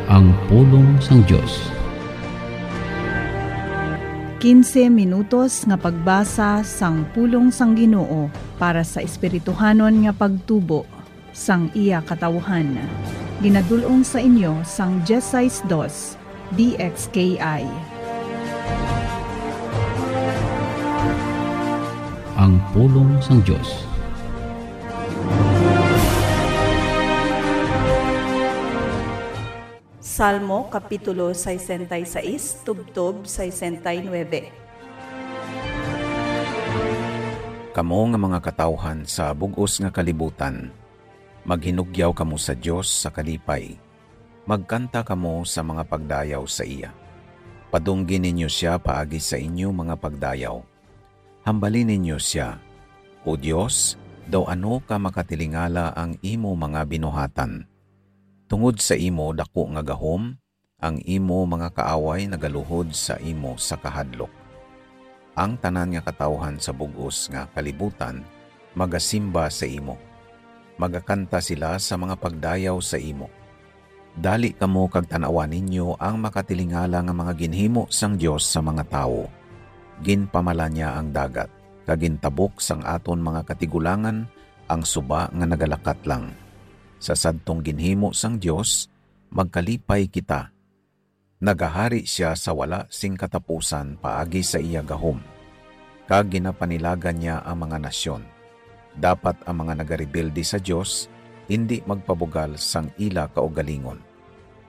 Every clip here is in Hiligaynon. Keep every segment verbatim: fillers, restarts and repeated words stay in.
Ang pulong sang Dios. Quince minutos nga pagbasa sang pulong sang Ginoo para sa espirituhanon nga pagtubo sang iya katawhan. Ginadul-ong sa inyo sang Diez Seis Dos D X K I. Ang pulong sang Dios. Salmo, Kapitulo sesenta y seis, tubtob sesenta y nuebe. Kamo nga mga katawhan sa bug-os nga kalibutan, maghinugyaw kamo sa Dios sa kalipay. Magkanta kamo sa mga pagdayaw sa iya. Padunggi ninyo sia paagi sa inyo mga pagdayaw. Hambali ninyo sia, O Dios, daw ano ka makatilingala ang imo mga binuhatan. Tungod sa imo daku nga gahom, ang imo mga kaaway nagaluhod sa imo sa kahadlok. Ang tanan nga katawhan sa bug-os nga kalibutan magasimba sa imo. Magakanta sila sa mga pagdayaw sa imo. Dali kamo kag tan-awa ninyo ang makatilingala nga mga ginhimo sang Dios sa mga tawo. Ginpamala niya ang dagat, kag gintabok sang aton mga katigulangan ang suba nga nagalakat lang. Sa sadtong ginhimo sang Dios, magkalipay kita. Nagahari sia sa wala sing katapusan paagi sa iya gahom, kag ginapanilagan niya ang mga nasyon. Dapat ang mga nagarebelde sa Dios indi magpabugal sang ila kaugalingon.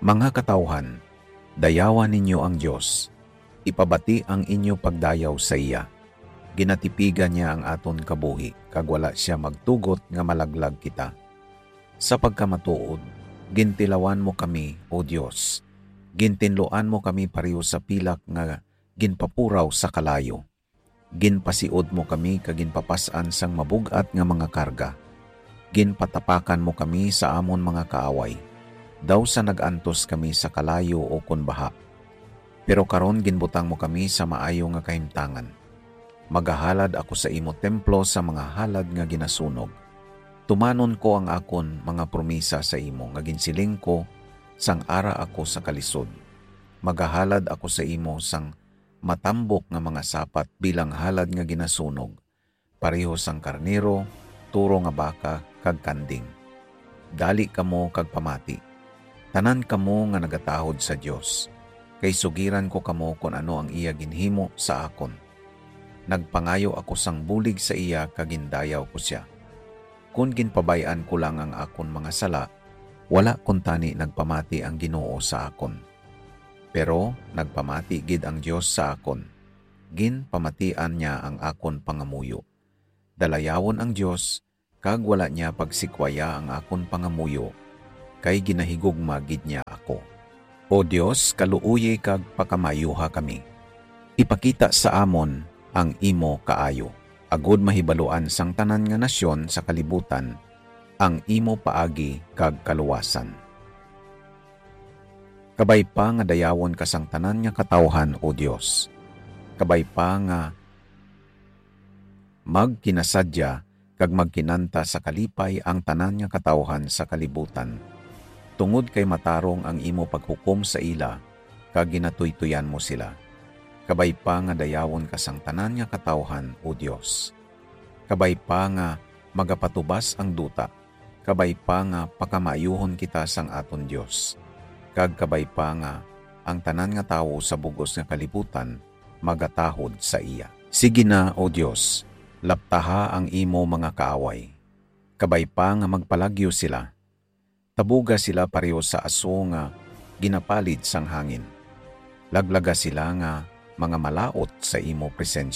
Mga katawhan, dayawa ninyo ang Dios. Ipabati ang inyo pagdayaw sa iya. Ginatipigan niya ang aton kabuhi, kag wala sia magtugot nga malaglag kita. Sa pagkamatuod, gintilawan mo kami, O Dios. Gintinluan mo kami pareho sa pilak nga ginpapuraw sa kalayo. Ginpasiod mo kami kag ginpapas-an sang mabug-at nga mga karga. Ginpatapakan mo kami sa amon mga kaaway, daw sa nag-antos kami sa kalayo ukon baha. Pero karon ginbutang mo kami sa maayo nga kahimtangan. Magahalad ako sa imo templo sa mga halad nga ginasunog. Tumanon ko ang akon mga promesa sa imo nga ginsiling ko sang ara ako sa kalisod. Magahalad ako sa imo sang matambok nga mga sapat bilang halad nga ginasunog, pareho sang karnero, turo nga baka, kag kanding. Dali kamo kag pamati, tanan kamo nga nagatahod sa Dios, kay sugiran ko kamo kon ano ang iya ginhimo sa akon. Nagpangayo ako sang bulig sa iya kag gindayaw ko sia. Kon ginpabay-an ko lang ang akon mga sala, wala kuntani nagpamati ang Ginoo sa akon. Pero nagpamati gid ang Dios sa akon. Ginpamatian niya ang akon pangamuyo. Dalayawon ang Dios, kag wala niya pagsikwaya ang akon pangamuyo, kay ginahigugma gid niya ako. O Dios, kaluoyi kag pakamaayuha kami. Ipakita sa amon ang imo kaayo, agod mahibaluan sang tanan nga nasyon sa kalibutan ang imo paagi kag kaluwasan. Kabay pa nga dayawon ka sang tanan nga katawhan, O Dios. Kabay pa nga magkinasadya kag magkinanta sa kalipay ang tanan nga katawhan sa kalibutan, tungod kay matarong ang imo paghukom sa ila, kag ginatuytoyan mo sila. Kabay pa nga dayawon ka sang tanan nga katawhan, O Dios. Kabay pa nga magapatubas ang duta, kabay pa nga pakamaayuhon kita sang aton Dios, kag kabay pa nga ang tanan nga tawo sa bug-os nga kalibutan magatahod sa iya. Sige na, O Dios, laptaha ang imo mga kaaway. Kabay pa nga magpalagyo sila. Tabuga sila pareho sa aso nga ginapalid sang hangin. Laglaga sila nga mga malaut sa imo presensya.